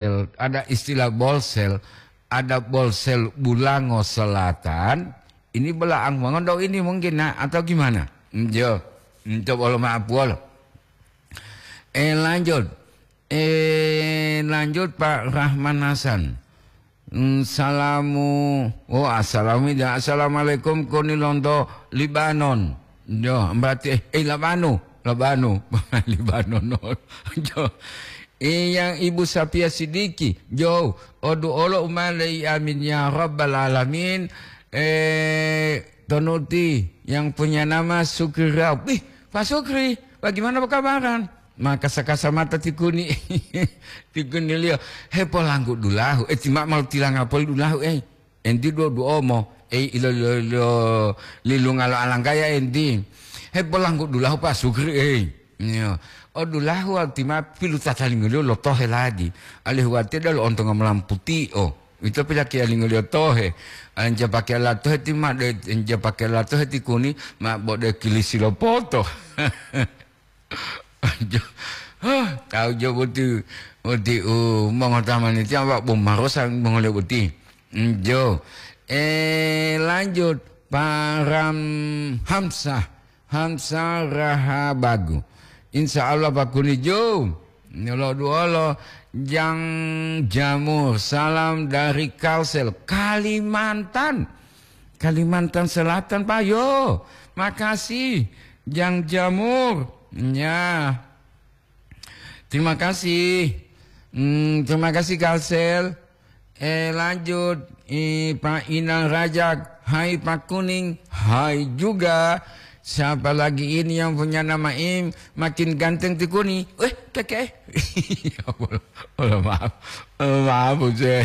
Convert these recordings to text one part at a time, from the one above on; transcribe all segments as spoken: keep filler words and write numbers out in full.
Bolsel, ada istilah Bolsel, ada Bolsel Bulango Selatan, ini belaang mongondo ini mungkin, nah, atau gimana? Njo, nto bolo maaf bolo. Eh, lanjut. Eh, lanjut Pak Rahman Hasan. Hmm, salamu, oh, assalamu, assalamualaikum koni lonto Libanon. Jo, berarti, eh, eh, Labanu, Labanu, Libanon. Jo. Eh, yang Ibu Sapia Sidiki, jo, odu olo umale, amin ya rabbal alamin. Eh, tonuti yang punya nama Sukri Raub. Ih, Pak Sukri, bagaimana perkabaran? Ma kasa-kasa mata tikuni, tikuniliyo, "Hepolanggu dulahu, eh, ti ma malu tilanga poli dulahu, eh." Enti duo duomo, ei, ilo, ilo, ilo, lilunga lo alanggaya enti. Hepolanggu dulahu Pak Sukri, ei. Iyo. O dulahu ti ma pilu tatalingoliyo lo tohe ladi. Alihu watiya dalo ontonga molamputi o. Ito pilakiya lingoliyo tohe. Anja pakeya la tohe ti ma de, anja pakeya la tohe ti kuni, ma bode kilisi lo poto. Jo, hah, tahu jo boti, boti, uh, mongotamani tiang Pak Bomarosa mongole boti. Jo, eh, lanjut, Pak Ram Hamsah, Hamsah Rahabagu. Insya Allah Pak Kuni jo, nyolo duolo, Jang Jamur, salam dari Kalsel, Kalimantan. Kalimantan Selatan, Pak. Yo, makasih. Jang Jamur. Ya. Terima kasih. Hmm, terima kasih, Kalsel. Eh, lanjut. Eh, Pak Inang Rajak. Hai, Pak Kuning. Hai juga. Siapa lagi ini yang punya nama Im? Makin ganteng ti Kuni. Eh, keke. Ya Allah, Allah, maaf. Allah, maaf, Buse.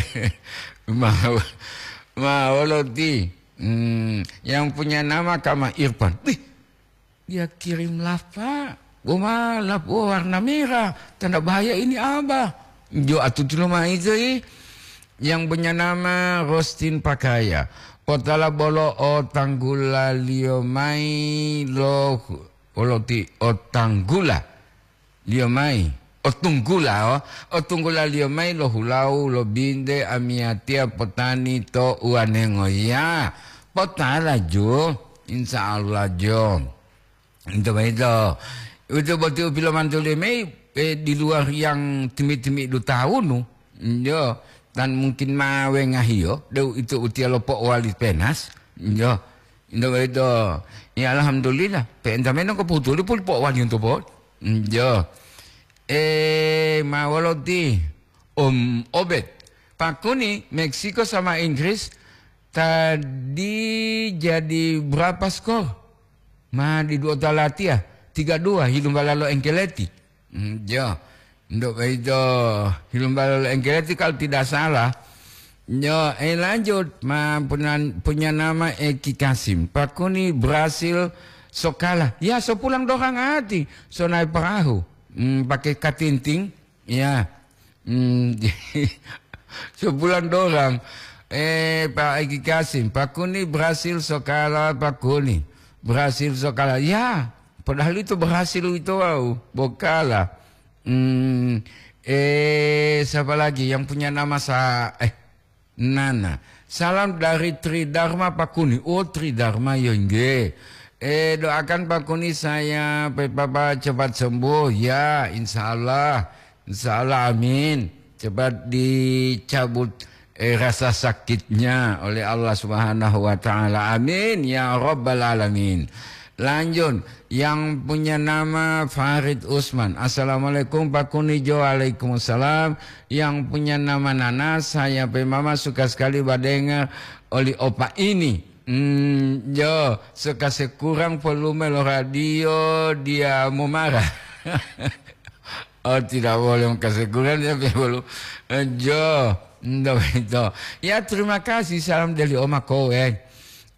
Maaf. Maaf, Allah, ti. Hmm, yang punya nama Kama Irfan. Wih, dia kirim lapa. Boma lapa warna merah. Tanda bahaya ini, Abah. Jo atuti lo mai to, eh. Yang punya nama Rostin Pakaya. Potala bolo o tanggulaliyo mai lo, olo ti o tanggula liyo mai. O tunggula, o. O tunggula liyo mai lo hulau, lo binte, amiyatiya potani to uwanengo. Ya, potala jo. Insya Allah jo. Ito boyito. Ito boti u pilomantuliyo mayi, eh, di luar yang timi-timi dutawunu. Yo, tan mungkin ma wengahiyo, deu ito utiya lo po'owali penas. Yo. Ito boyito. Ya, alhamdulillah. Pe'enta meno ko putuli puli po'owali unto po. Yo. Eh, ma woloti? Om Obed. Pakuni Meksiko sama Inggris tadi jadi berapa skor? Ma didu ota latiya, tiga dua, hilumbala lo Engkeleti. Hmm, jo. Ndo boyito, hilumbala lo Engkeleti kalau tidak salah. Jo, eh, lanjut. Ma punya, punya nama Eki Kasim. Pakuni Brasil sokala. Ya, so pulang dorang ati. So naik perahu. Hmm, pakai katinting. Ya. Hmm, sebulan dorang. Eh, Pak Eki Kasim, Pakuni berhasil sokala Pakuni. Berhasil sokala. Ya, padahal itu berhasil itu, wow, bokala. Hmm, eh, siapa lagi yang punya nama sa-, eh, Nana. Salam dari Tri Dharma Pakuni. Oh, Tri Dharma, yo nggih. Eh, doakan Pakuni saya, pe Papa cepat sembuh. Ya, insya Allah. Insya Allah, amin. Cepat dicabut, eh, rasa sakitnya oleh Allah Subhanahu wa Ta'ala. Amin, ya Rabbal Alamin. Lanjut, yang punya nama Farid Usman. Assalamualaikum, Pak Kunijo. Waalaikumsalam. Yang punya nama Nana, saya pe mama suka sekali badengar oli opa ini. Hmm, jo, suka sekurang volume lo radio, dia mau marah. Oh, tidak boleh kasekurangan sampai bolo. Eh, jo, ndak begitu. Ya, terima kasih, salam dari Oma Kowe.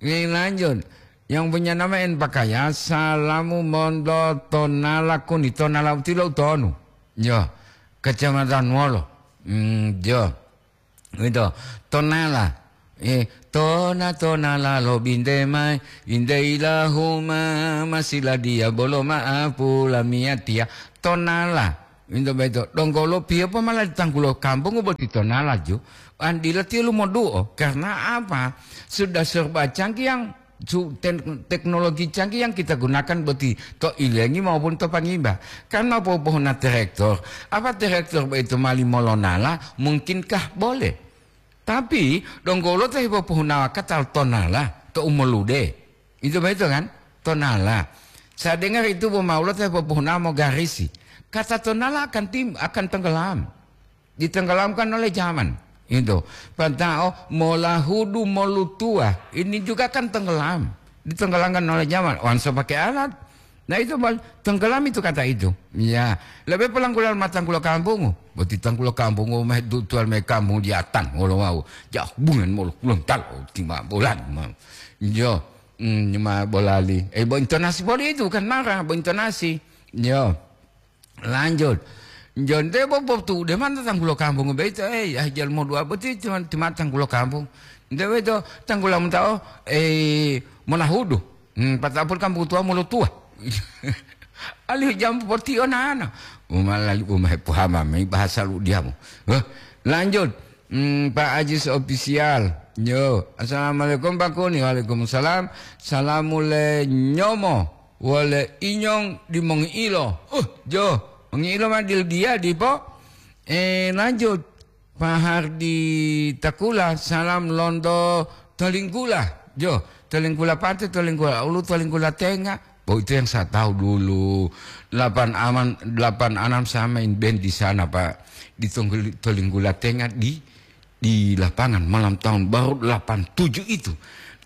Ini lanjut. Yang punya nama en pakaya, salamu mondo Tonala Kuni, Tonala utilo utonu. Jo, kecamatan Wolo. Hmm, jo. Gitu. Tonala. Eh, tona, tonala lo binte mai, binte ilahuma, masila dia bolo ma'apu lamiyatiya. Tonala. Into boyito, donggo lo piyopo mala di tanggulo kampungu boti tonala ju, an dila tiyo lumoduo. Karena apa? Sudah serba canggih yang su-, ten-, teknologi canggih yang kita gunakan boti to ilengi maupun to pangimba. Kan mau popohuna terektor, apa terektor boyito mali molonala, mungkinkah boleh? Tapi donggo lo ta hipopohunawa kata tonala to umolude. Itu boyito kan? Tonala. Saya dengar itu bo maulo ta hipopohunawa mogarisi. Kata tonala akan tim-, akan tenggelam. Ditenggelamkan oleh zaman. Itu. Pantao molahudu molutua. Ini juga kan tenggelam. Ditenggelamkan oleh zaman. Wansa pakai alat. Nah, itu bal-, tenggelam itu kata itu. Ya, lebih pelanggulan matanggulo kampungu. Boti tanggulo kampungu meh dutual meh kampung diatan wolo wau. Jauh bungan molo kulon talo tima bolan. Yo, mm, ma bolali. Eh, bo intonasi boli itu kan marah, bo intonasi. Yo. Lanjut. Jonte bo potu de man tanggulo kampungu beito. Eh, ya jal mo dua boti cuma tima tanggulo kampung. Nte beito tanggula mutao, eh, monahudu. Hmm, patapul kan butuha mulu tua. Alihu jam potiyo nana. Uma lali uma hepuhama mai bahasa lu diamu. Heh, lanjut. Hmm, Pak Ajis Official. Yo, assalamualaikum Pak Kuni. Waalaikumsalam. Salamu le nyomo. Wale inyong di mongiilo. Uh, jo. Mongiilo ma dil dia dipo. Eh, lanjut. Pak Hardi Takula, salam lonto Tolinggula. Jo, Tolinggula Pate, Tolinggula Ulu, Tolinggula Tenga. Oh, itu yang saya tahu dulu. Delapan aman, delapan anam saya main band di sana, Pak. Di Tonggul-, Tolinggula Tenga di, di lapangan malam tahun baru delapan tujuh itu.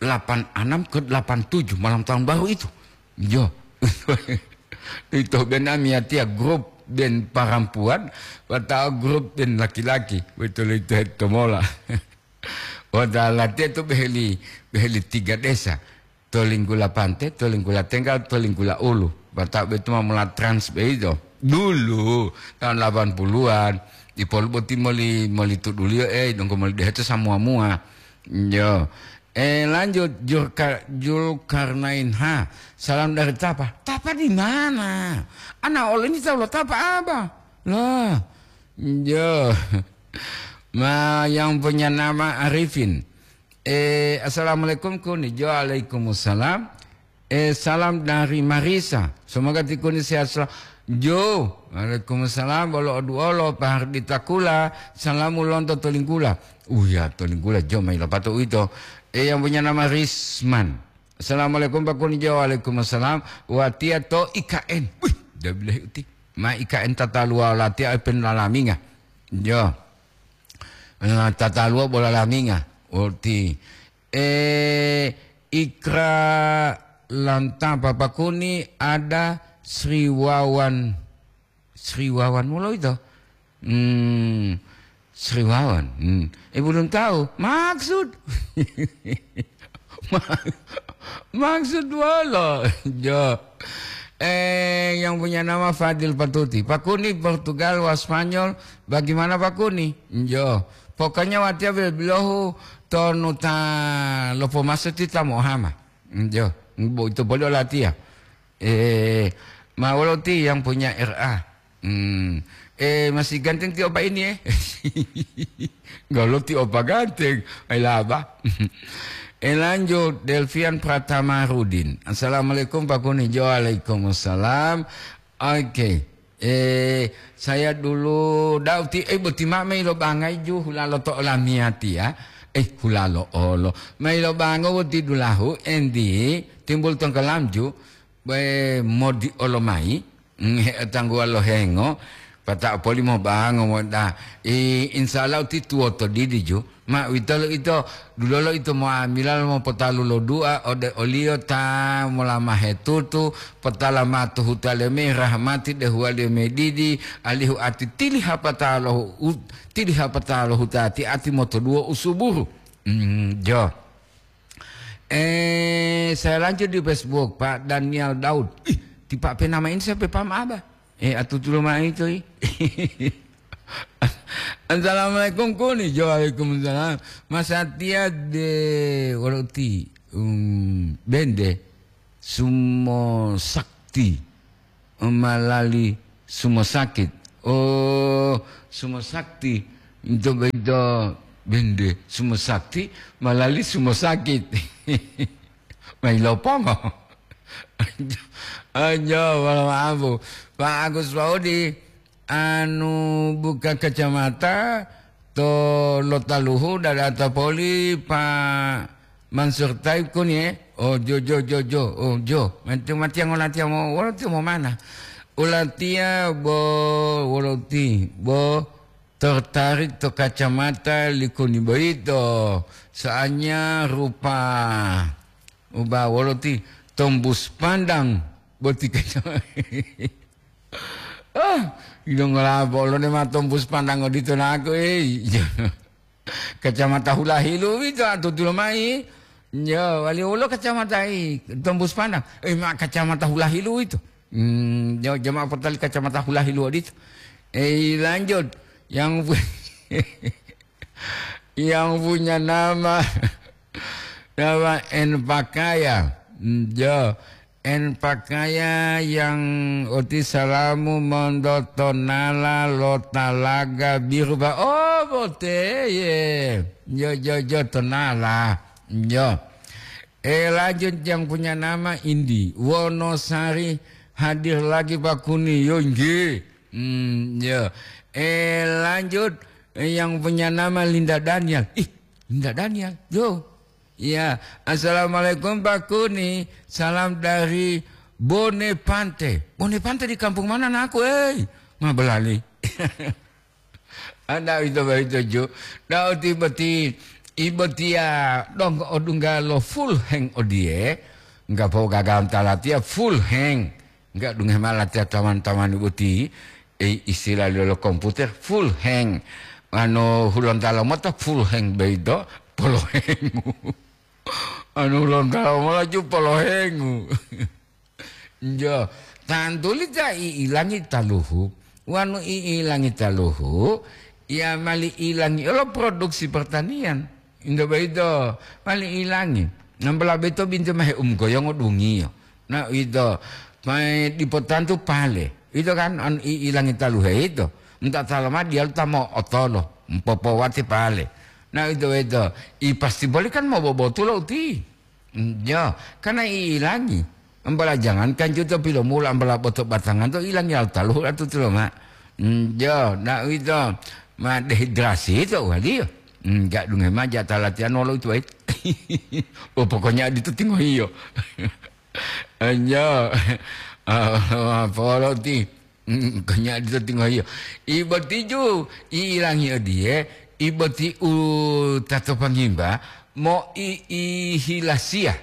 Delapan anam ke delapan tujuh malam tahun baru itu. Jo. Itu band ami atia grup band parampuan, watau grup band laki-laki. Betul itu heto mola. Wata latihan tu beheli, beheli tiga desa. Tolinggula Pante, Tolinggula Tenggal, Tolinggula Ulu. Wata betu ma mula trans beito. Dulu, tahun delapan puluhan. Di polu boti moli, moli tuduliyo, eh, dongko moli deheto samua-mua. Yo. Eh, lanjut, Julka-, Julkarnain. Ha, salam dari Tapa. Tapa di mana? Ana oleh ini tahu lo Tapa apa? Lah, yo. Ma, yang punya nama Arifin. Eh, assalamualaikum, Kuni. Jo, waalaikumsalam. Eh, salam dari Marisa. Semoga ti Kuni sehat selalu. Jo, waalaikumsalam. Bolo oduolo, Pak Hardi Takula. Salamu lonto Tolinggula. Oh ya, Tolinggula, jo, mai lapato uwito. Eh, yang punya nama Risman. Assalamualaikum, Pak Kuni. Jo, waalaikumsalam. Watia to I K N. Wih, dah bilahi uti. Ma I K N tata luwa latia pen lalaminga. Jo. Eh, tata luwa bola laminga. Uti. Eh, Ikra Lanta Papakuni ada Sri Wawan. Sri Wawan mulo ito. Hmm, Sri Wawan. Hmm. Eh, belum tahu. Maksud. Ma-, maksud wolo. Jo. Eh, yang punya nama Fadil Patuti. Pak Kuni Portugal wa Spanyol. Bagaimana Pak Kuni? Jo. Pokoknya watia bilohu tonu ta lopo maso ti ta mohama. Jo. Bo itu boleh latia. Eh, ma wolo ti yang punya R A? Hmm. Eh, masih ganteng ti opa ini, eh? Galo ti opa ganteng. Ai laba. Eh, lanjut, Delvian Pratama Rudin. Assalamualaikum, Pak Kuni. Jo, waalaikumsalam. Oke. Eh, saya dulu dau ti, eh, boti ma mei lo bangai ju hulalo to olamiyati ya. Eh, hulalo olo. Mei lo bango woti dulahu, endi, timbul tongkolam ju. Be modi olo mayi, mm, he-, tangguwalo hengo, pata'o poli mobango moda. I, insya Allah ti tuwoto didi ju. Ma uwitolo ito, dulolo ito mo'amila lo mopotalu lo du'a ode oliyo ta molama hetutu, potala matu hutaliyo mayi rahmati dehuwaliyo mayi didi, alihu ati tili hapata lo hu-, u-, tili hapata lo hutati ati motoduwo usuburu. Mm, jo. Eh, saya lanjut di Facebook, Pak Daniel Daud. Ih, ti Pak P nama ini sampai paham apa? Eh, atutu lo ma'o ito, ih. Assalamualaikum, Kuni. Waalaikumsalam. Mas Satya de Woroti, um, Bende, Sumo Sakti, Malali, Sumo Sakit. Oh, Sumo Sakti, ito boyito bende Sumo Sakti, malali Sumo Sakit. Mai lopongo. Anjo, wala maapu. Pak Agus Paudi, anu buka kacamata to Lotaluhu dada tapoli Pak Mansur Taib kuni, eh? Oh, jo, jo, jo, jo. Oh, jo. Mati, mati yang ulatiya mo, ulatiya mo mana? Ulatiya bo, woloti, bo tertarik to kacamata likuni boyito. Soalnya rupa uba woloti tembus pandang boti kacamata. Ah, ilongola bolo ne ma tembus pandang odito naku, eh. Kacamata hulahilu ito atutulo mai. Yo, wali wolo kacamata i tembus pandang. Eh, ma kacamata hulahilu ito. Hmm, yo, jama potali kacamata hulahilu odito. Eh, lanjut. Yang pu-, yang punya nama, nama N Pakaya. Hmm, yo. En pakaya yang oti salamu monto tonala lo talaga biru ba-, oh, boteye. Jo, jo, jo, tonala. Jo. Eh, lanjut yang punya nama Indi. Wonosari hadir lagi Pak Kuni. Yo, nggih. Hmm, yo. Eh, lanjut, eh, yang punya nama Linda Daniel. Ih, Linda Daniel. Yo. Iya, "Assalamualaikum Pak Kuni, salam dari Bonepante." "Bonepante di kampung mana, naku, ei?" Ma belali. Anda ito boyito ju. Nah, oti boti, ibotiya donggo odungga lo full hang odiye. Enggak po gagal talatiya full hang. Enggak dunge mala tiya taman-taman boti, eh, istilah lo komputer full hang. Anu, hulontalo mota full hang boyito, polohengu. Anu, hulontalo mola ju polohengu. Jo, tantuli ta i'ilangi taluhu. Wanu i'ilangi taluhu, ya mali ilangi olo produksi pertanian. Indo boyito, mali ilangi. Nambola boyito bintu mahe umgoyongo dungiyo. Na uwito, ma dipo tantu pale. Uwito kan, an i-, ilangi taluhe ito. Nta talo ma diyalu ta mo'otolo, mpopowate pale. Na uwito-wito, i pasti boli kan mobobotulo uti. Mm, jo, karena i ilangi. Ambala jangankan juto pilomula, ambala boto batangan to ilangi al taluhu atutulo ma. Mm, jo, na uwito, ma dehidrasi to waliyo. Mm, gak dunge ma jata latihan wolo itu, wai. Oh, pokoknya adito tingohiyo. Anjo, ah, polo ti, mm, kanya dito tingohiyo. Ibo tiju, i'ilangi odiye, ibo ti u tato pangimba, mo i, i hilasiya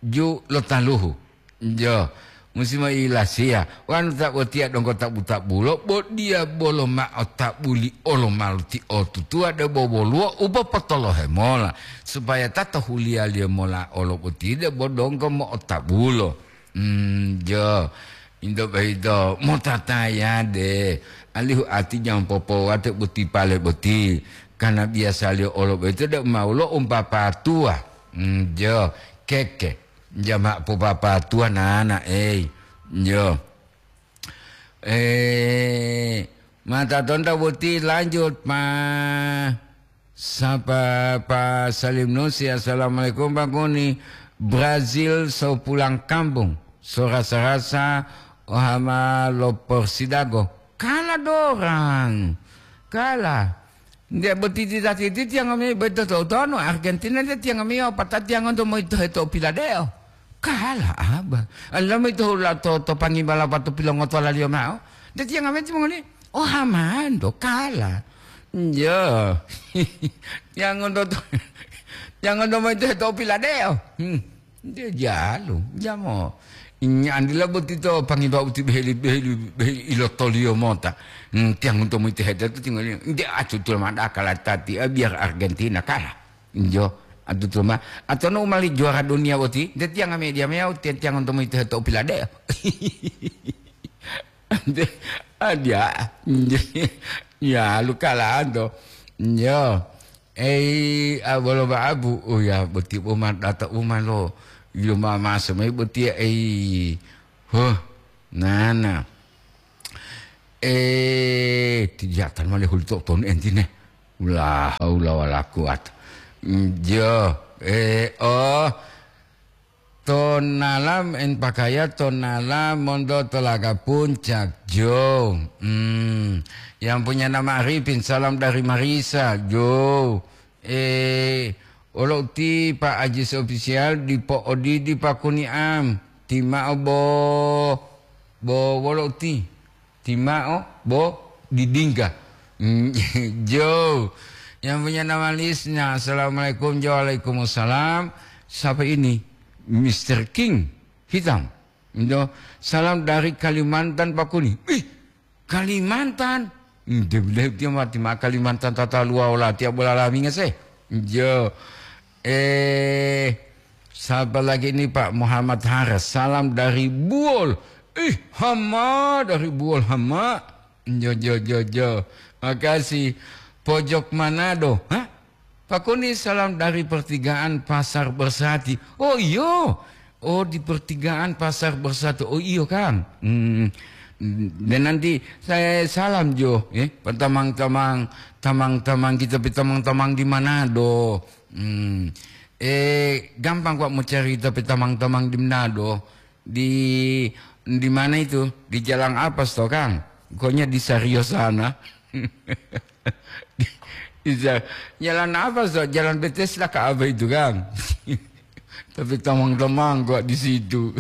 ju lo taluhu. Jo, musi mo i hilasiya. Wanu ta botiya donggo tabu-tabulo, bo diya bolo ma'o tabuli olo maluti otutuwa debo woluwo u popotolohe mola, supaya ta to huliyaliyo mola olo boti debo donggo mo'otabulo. Hmm, jo. Into boyito, motatayade, alihu ati jangan popowate boti pale boti, karena biyasaliyo olo boyito deu ma woluwo umpapatuwa. Hmm, jo, keke, jama popapatuwa nana, ei. Jo. Eh, mata tonta boti lanjut, ma. Sapa Pa Salim Nusi, "Assalamualaikum Pak Kuni. Brazil so pulang kampung, so rasa-rasa ohama lo persidago." Kala dorang. Kala. Nde boti tita titi tiang ami beto to tono Argentina de tiang ami opata tiang onto moito heto piladeo. Kala aba. Allah moito hula to, to pangibala pato pilongoto laliyo mao. De tiang ami timongoli. Oh, hamando, kala. Njo. Tiangonto to, tiangonto moito heto piladeo. Hmm. Nde jalu, jamo. Nyandila boti to pangiba uti beheli, beheli, beheli ilotoliyo mota. Hmm, tiangonto moito heto to tinggal. Nde atutul mada kala tati, eh, biar Argentina kalah. Njo, atutul ma. Atau no mali juara dunia boti, nde tiang media mea, tiang, tiangonto moito heto piladeo. Ante, adia, ya, lukalanto. Yo, ei, abolo baabu, oh ya, boti uma data uma lo, yo mama semai boti, ei, huh, nana. Eh, tijatan male huli to tonu entine. La haula wala quwata. Mm, jo, eh, oh. Tonala en pakaya tonala monto tolaga puncak, jo. Hmm. Yang punya nama Arifin, salam dari Marisa, jo. Eh, wolo uti Pak Ajis Official dipo odidi pakuniam. Timao bo, bo wolo uti. Timao bo didingga. Hmm, jo. Yang punya nama Lisna. Assalamualaikum, jo. Waalaikumsalam. Siapa ini? Mister King Hitam. Jo. Salam dari Kalimantan, Pakuni. Ih, Kalimantan. Hmm, dia bilang dia mati ma Kalimantan tata luar olah tiap bola laminga sih. Jo. Eh, siapa lagi ini, Pak Muhammad Haras? Salam dari Buol. Ih, hama dari Buol, hama. Jo, jo, jo, jo. Makasih. Pojok Manado. Hah? Pakuni, salam dari pertigaan Pasar Bersati. Oh, iyo. Oh, di pertigaan Pasar Bersati. Oh, iyo, kan. Hmm. Dan nanti saya salam jo, eh, tamang-tamang, tamang-tamang kita, tamang-tamang di Manado. Hmm. Eh, gampang kok mau cari tapi tamang-tamang di Manado. Di, di mana itu? Di Jalan Apas toh, Kang? Pokoknya di Sario sana. Di, di Ja-, Jalan Apas toh? Jalan Bethesda ke apa itu, Kang? Tapi tamang-tamang kok di situ.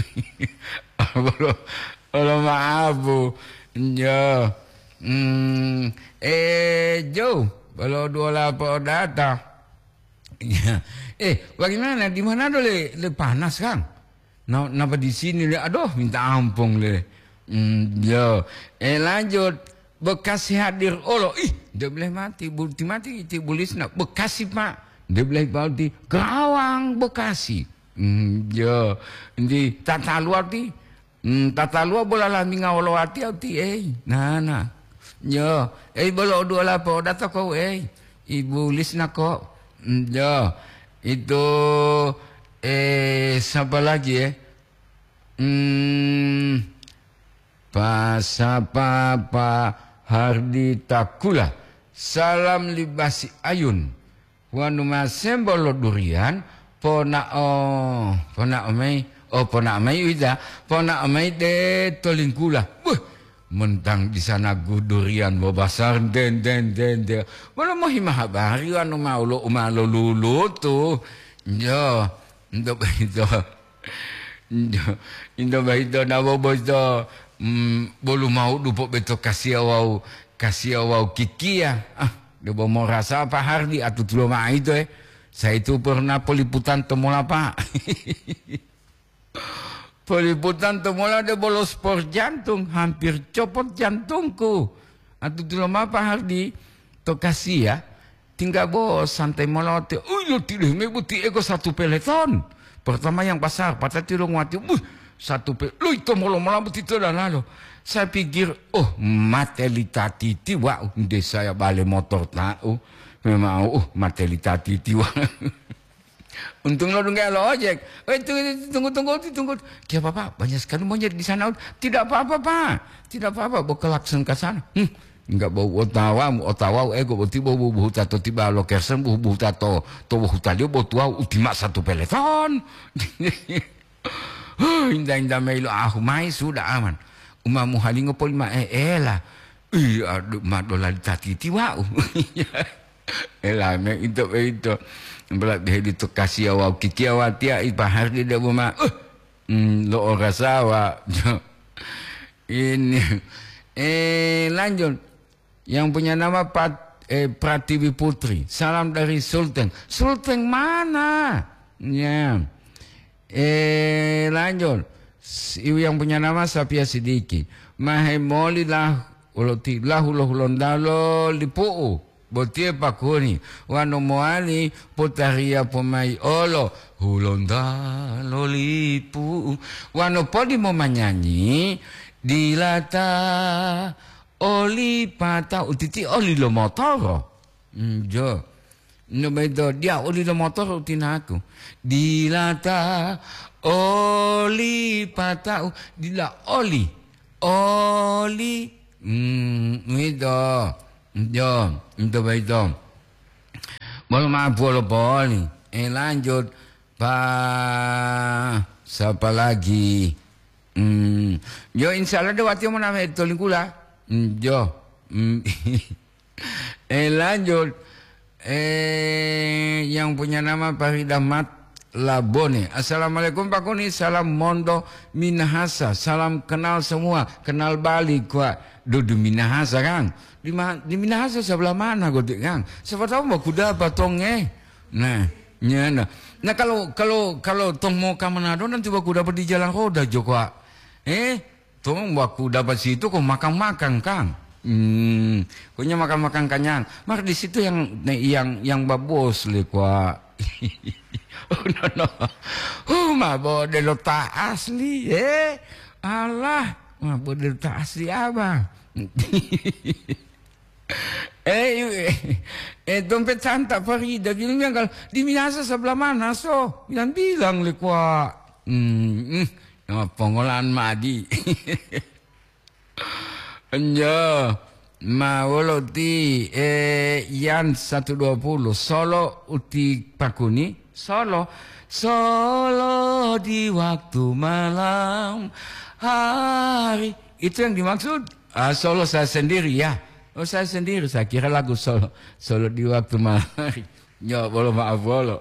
Bolo, bolo maaf, Bu. Ya. Hmm, eh, Jo, bolo dua lapo data. Ya. Eh, bagaimana? Di mana do le, le panas, Kang? Na-, napa di sini le? Aduh, minta ampun le. Hmm, yo. Eh, lanjut. Bekasi hadir olo. Ih, dia boleh mati. Bulti mati, ti bulisna. Bekasi, Pak. Dia boleh mati. Kerawang, Bekasi. Hmm, yo. Di tata luar ti. Hmm, tata luar bola laminga wolo wati au ti, ei. Nah, nah. Yo. Ei, bolo dua lapo data kau, ei. Ibu Lisna kok. Hmm, yo. Itu, eh, siapa lagi, ya? Hmm, pa sapa Pa Hardi Takula. Salam libasi ayun. Wanu masembo lo durian, pona'o, pona'o mei, oh, pona'o mei uwita, pona'o mei de to Lingkula. Buh, mentang di sana gu durian bo basar, den, den, den, den. Wolo mohima habari wanu mau lo, uma lo lulutu. Yo, ento boyito. Ento, ento boyito nawo boyito, mm, bolu mau dupo beto kasiya wawu, kasiya wawu kikiya. Ah, debo morasa Pak Hardi atutulo ma'o ito, eh. Saya itu pernah peliputan to mola, Pak. Peliputan to mola debo lo spor jantung, hampir copot jantungku. Atutulo ma'o Pak Hardi, to kasiya, tingga bo santai mola wati. Oh, iyo, tidak, me buti ego satu peleton. Pertama yang besar, patati lo nguati, buh, satu pe-, lo ito molo-mola buti to dalalo. Saya pikir, oh, mate li tatiti, wa'u, nde saya bale motor ta'u. Memang, oh, mate li tatiti, wa'u. Untung lo dungga lo ojek. Oh, itu, itu, tunggu, tunggu, tunggu. Kia, Bapak, banyak sekali monyet di sana. Tidak apa-apa, Pak. Tidak apa-apa, bo klakson ke sana. Hmm, enggak bau otawamu, otawamu, ego boti bau bubuhu tato tiba lo kersen, bubuhu tato, to bubuhu talio, bo tuwau utima satu peleton. Huh, inda-inda mayi lo ahu mayi, sudah aman. Umamu halingo poli ma e-, ela. Ih, aduh, ma dolali tatiti wa'u. Elame ito, ito. Bela beheli to kasiya wawu kikiya watiya i Pak Hardi debo ma. Uh, mm, lo orasawa. Ini. Eh, lanjut. Yang punya nama Pat-, eh, Pratiwi Putri. Salam dari Sulteng. Sulteng mana? Ya. Eh, lanjut. S-, ibu yang punya nama Sapia Sidiki. Mahemoli lah, ulo ti-, lahu lo Hulontalo lipu'u. Botiye pakuni. Wanu mowali putariya pomai olo. Hulontalo lipu'u. Wanu podi momanyanyi, dilata oli pata'u titi oli lo motoro. Njo. No beto, dia oli lo motoro utinaku. Dilata oli pata'u, dila oli. Oli Hmm, uwito. Yo, ito boyito. Bolo ma'o puwolo poli. Eh, lanjut. Pa, sapa lagi? Hmm, yo, insya Allah dewatiyo moname to lingkula. Hmm, yo. Hmm. Eh, lanjut. Eh, yang punya nama Faridah Mat Labone. "Assalamualaikum, Pak Kuni. Salam Mondo Minahasa. Salam kenal semua. Kenal balik, Pak." Dudu Minahasa, Kang. Di ma-, di Minahasa sebelah mana, Godik, Kang? Siapa tahu mau kuda apa tong, eh. Nah, ya, nah. Nah, kalau, kalau, kalau tong mau ke Manado, nanti baku dapat di jalan roda, Joko, Pak. Eh, Tong waku dapat situ ko makan-makan, Kang. Hmm, pokoknya makan-makan kanyang. Maka di situ yang, yang, yang babos le kwa. Oh, no, no. Huh, ma bo delo ta asli, eh. Alah, ma bo delo ta asli apa? Eh, eh, eh, dompet santa Farida bilang, "Kalau di Minasa sebelah mana, so?" Bilang-bilang le kwa. Hmm, hmm. Oh, pongolan madi. Enjo, ma wolo ti, eh, Yan satu dua puluh, solo uti pakuni, solo, solo di waktu malam hari. Itu yang dimaksud. Ah, solo saya sendiri ya. Oh, saya sendiri, saya kira lagu solo, solo di waktu malam hari. Nyo, bolo maaf, bolo.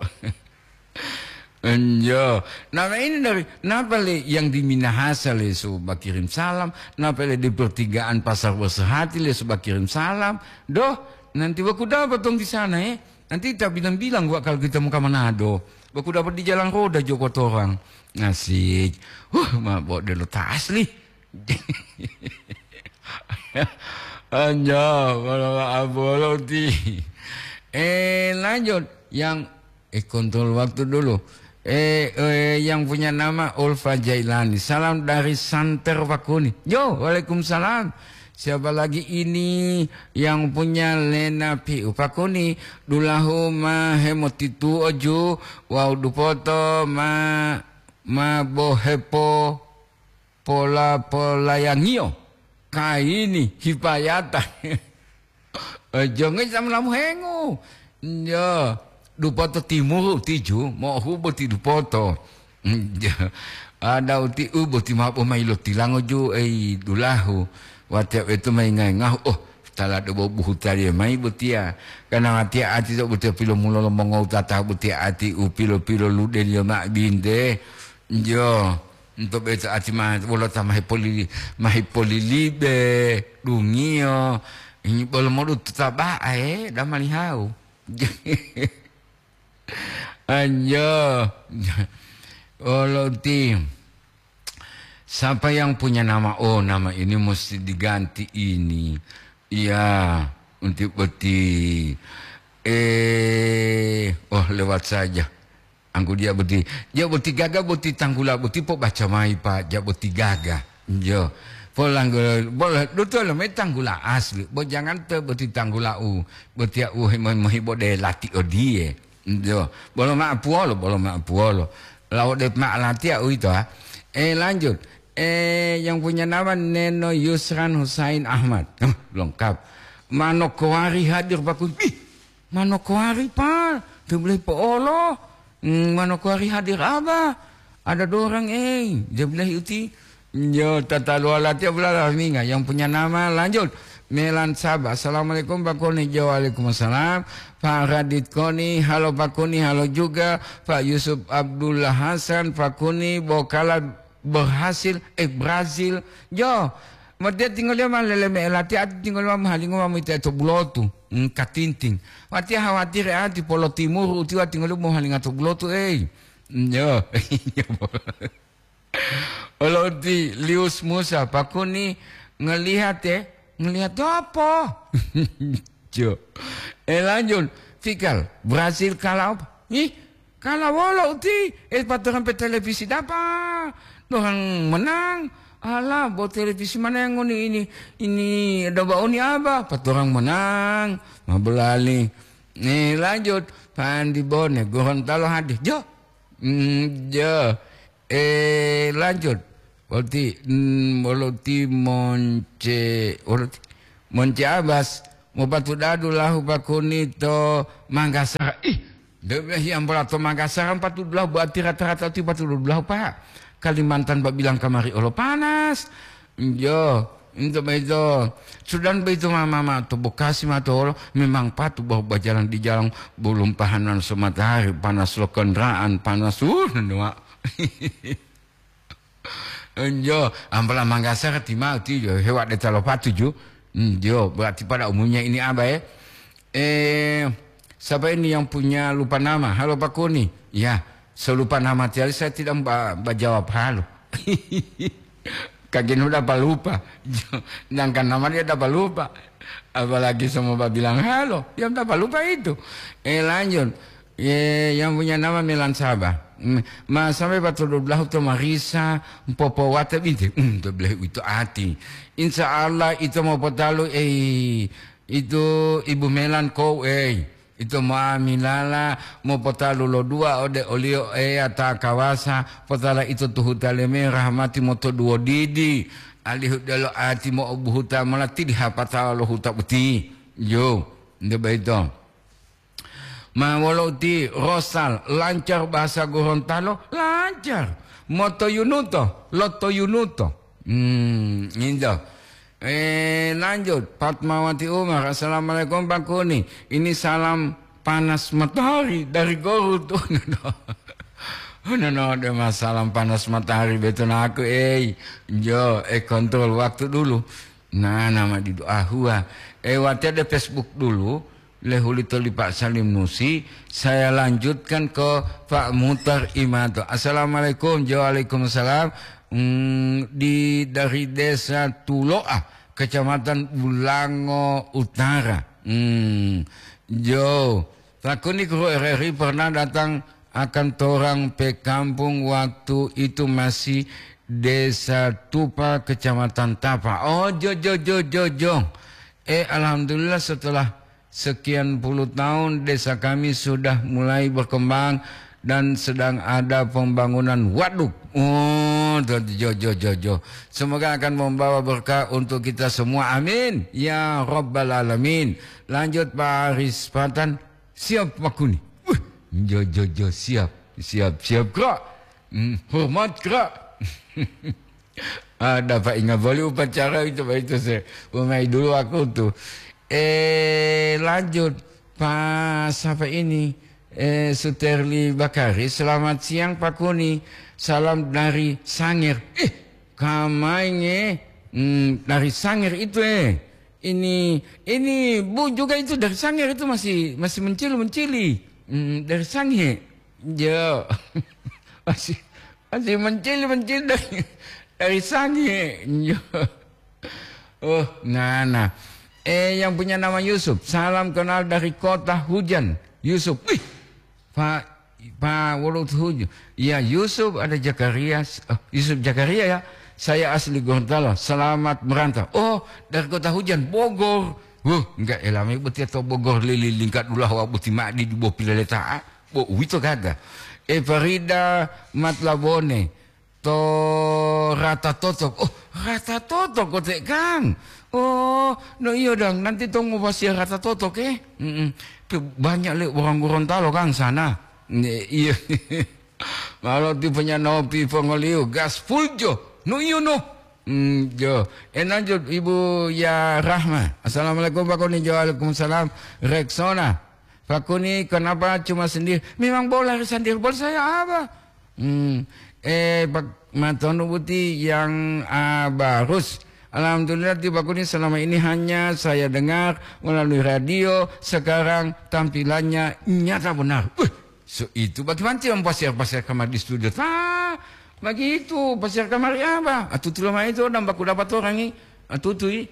Enjo. Nama ini dari, napa le yang di Minahasa le suba kirim salam, napa le di pertigaan Pasar Bersehati le suba kirim salam. Doh, nanti baku dapat dong di sana, eh. Nanti kita bilang-bilang gua kalau kita mau ke Manado. Baku dapat di jalan roda Joko Torang. Asik. Huh, ma bo delo ta asli. Anjo, bolo, bolo ti. Eh, lanjut. Yang, eh, kontrol waktu dulu. Eh, eh, yang punya nama Ulfa Jailani. Salam dari Santer Pakuni. Yo, waalaikumsalam. Siapa lagi ini yang punya Lena Piu Pakuni? Dulahu ma hemotitu oju, wau dupoto ma, ma bohepo pola-polayangiyo kayini hipayata. Eh, jonge samulamu hengu. Yo, dupoto timuru tiju, mo'ohubo ti dupoto. Ada uti u boti mabo mayi lo tilango ju, ei, dulahu. Watiya uweto mayi ngayi ngahu, oh, tala do bobuhu taliye mayi botiya. Kana watiya ati to botiya pilomulolo mongowutata botiya ati u pilo-pilo ludeliyo ma'o binte. Jo. Nto beto ati ma wolo ta mahipolili-, mahipolilibe, dungiyo, ini bolo modu tutaba'e, damalihau. Anjo. Olo ti. Siapa yang punya nama? Oh, nama ini mesti diganti ini. Iya, untuk beti. Eh, oh, lewat saja. Angku dia boti, dia boti gaga boti tanggula boti po baca mai, Pak, dia boti gaga. Jo. Polanggo, bola, dutulo me tanggula asli. Bo jangan te boti tanggula u, boti u himo-, mohibo de lati odie. Jo. Bolo ma puolo, bolo ma puolo. Lao de ma lati uito, ha. Eh, lanjut. Eh, yang punya nama Neno Yusran Husain Ahmad. Huh, lengkap. Manokowari hadir, Pak Kun. Ih, Manokwari, Pak, to bilahi po'olo. Hmm, Manokwari hadir, Abah. Ada dua orang, eh. Dia bilahi uti. Yo, tataluwala tiya bulala minga yang punya nama. Lanjut. Melan Sabah. Assalamualaikum, Pak Koni. Jo, waalaikumsalam. Pak Radit Koni, halo Pak Koni, halo juga Pak Yusuf Abdullah Hasan, Pak Koni, Bokala berhasil, eh, Brazil. Jo, matiya tingoliyo ma lele me'e latiya, ati tingoliyo ma mohalingo ma moyitoya to bulotu. Hmm, katinting. Watiya hawatiri ati polotimuru utiwa tingoliyo mohalinga to bulotu, ei. Hmm, jo. Olo uti Lius Musa, Pak Kuni ngelihat, eh. Ngelihat apa? Jo. Eh, lanjut. Fikal, Brazil kalah apa? Ih, kalah wolo uti. Eh, paturang pe televisi dapa? Dorang menang. Alah, bo televisi mana yang ngoni ini? Ini doba oni apa? Paturang menang. Mabelali. Eh, lanjut. Pandi Bone, Gorontalo hadir. Jo. Hmm, jo. Eh, lanjut. Wolo ti, mm, wolo ti monce, wolo ti monce Abas, mopatudadu lahu pakuni to Manggasara. Ih, de behi ambola to Manggasara patudulahu, berarti rata-rata ti patudulahu, Pak. Kalimantan babilang kamari olo panas. Jo, into beito. Sudan beito mama ma to Bekasi ma to olo, memang patu bahwa bajalan di jalan belum pahanan so matahari, panas lo kendaraan, panas, uh, nua. Enjo, ampala Manggasara ti mau ti jo, hewa de talo patu ju. Hmm, jo, berarti pada umumnya ini apa ya? Eh, siapa ini yang punya lupa nama? Halo Pak Kuni. Ya, selupa nama tiali saya tidak ba, ba jawab halo. Kagen udah apa lupa. Sedangkan nama dia dapat lupa. Apalagi semua bilang halo, dia dapat lupa itu. Eh, lanjut. Ye, yang punya nama Melan Sabah. Mm, ma sampai patudulahu to marisa, popowate binte. Mm, to belah itu ati. Insya Allah itu mau potalu, eh, itu Ibu Melan kau, eh. Itu ma milala mau potalu lo dua ode oliyo Eya ta kawasa, potala itu tuhuta leme rahmati moto duwo didi. Alihu delo ati mo obuhuta mola tidi hapata lo huta boti. Yo, nde baito. Ma wolo uti Rosal, lancar bahasa Gorontalo? Lancar. Motoyunuto, lotoyunuto. Hmm, nginjo. Eh, lanjut, Fatmawati Umar, "Assalamualaikum Pak Kuni. Ini salam panas matahari dari Garut." Oh, no, no. Oh, no, no, ada masalah panas matahari betul aku, eh. Jo, eh, kontrol waktu dulu. Nah, nama di doa hua. Eh, wati ada Facebook dulu. Lehulito li Pak Salim Nusi, saya lanjutkan ke Pak Mutar Imanto. "Assalamualaikum." "Waalaikumsalam." Hmm, di, dari Desa Tuloa, Kecamatan Bulango Utara. Hmm, jo, takuni guru R R I pernah datang akan torang pe kampung waktu itu masih Desa Tupa, Kecamatan Tapa. Oh, jo, jo, jo, jo, jo. Eh, alhamdulillah setelah sekian puluh tahun desa kami sudah mulai berkembang dan sedang ada pembangunan waduk. Oh, jo, jo, jo, jo. Semoga akan membawa berkah untuk kita semua. Amin. Ya Rabbal Alamin. Lanjut, Pak Aris Patan. Siap, Pak Kuni. Wih, jo, jo, jo, siap. Siap, siap, Kak. Hmm, hormat, Kak. Ada Pak, ingat boli upacara itu, Pak, itu saya. Umai dulu aku tuh. Eh, lanjut. Pak, siapa ini? Eh, Suterli Bakari. "Selamat siang, Pak Kuni. Salam dari Sanger." Eh, kamainge. Hmm, dari Sanger itu, eh. Ini, ini Bu juga itu dari Sanger itu masih, masih mencili-mencili. Hmm, dari Sange. Jo. Masih, masih mencil-mencil dari, dari Sange. Jo. Oh, nah, nah. Eh, yang punya nama Yusuf. "Salam kenal dari kota hujan." Yusuf. Wih, Pak, Pak, wolo tuhuju. Ya, Yusuf ada Zakaria. Oh, Yusuf Zakaria ya. "Saya asli Gorontalo. Selamat merantau." Oh, dari kota hujan, Bogor. Huh, enggak elame boti atau Bogor lili lingkat ulah wa boti ma'di di bo pilaleta'a. Bo uwito gaga. E Farida Matlabone. To rata totok. Oh, rata totok kote, Kang. Oh, no iyo dang, nanti to ngupasiya rata totok, eh. Mm-mm. Pe banyak le orang Gorontalo, Kang, sana. Ne, iya. Malo tipenya nopi pongoliu, gas full jo. No iyo no. Hmm, jo. Eh, lanjut, Ibu Ya Rahma. Assalamualaikum, Pak Koni. Jo, waalaikumsalam. Rexona. Pak Koni, kenapa cuma sendiri? Memang bola sendiri, bola saya apa? Hmm. Eh, Pak Matono Buti yang, ah, barus. Alhamdulillah, Pak Koni, selama ini hanya saya dengar melalui radio. Sekarang tampilannya nyata benar. Wih, so itu bagaimana yang pasir-pasir kamar di studio? Ta, begitu, pasir kamari apa? Atutu lomai itu, dan baku dapat orang ini. Atutui.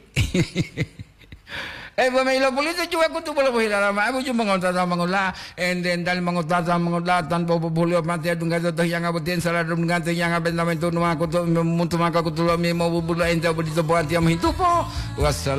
Eh, bome ilo pulito cuwa kutu bolo bohila lama. Abu ju mangotata mangola. Ende entali mangotata mangola. Tan bobo bulio mati adunga to yang abotien salah dum dengan yang aben lamen tu numa kutu muntu maka kutu lo mi mo bubulo ente abu dito buat yang hitupo. Wassalam.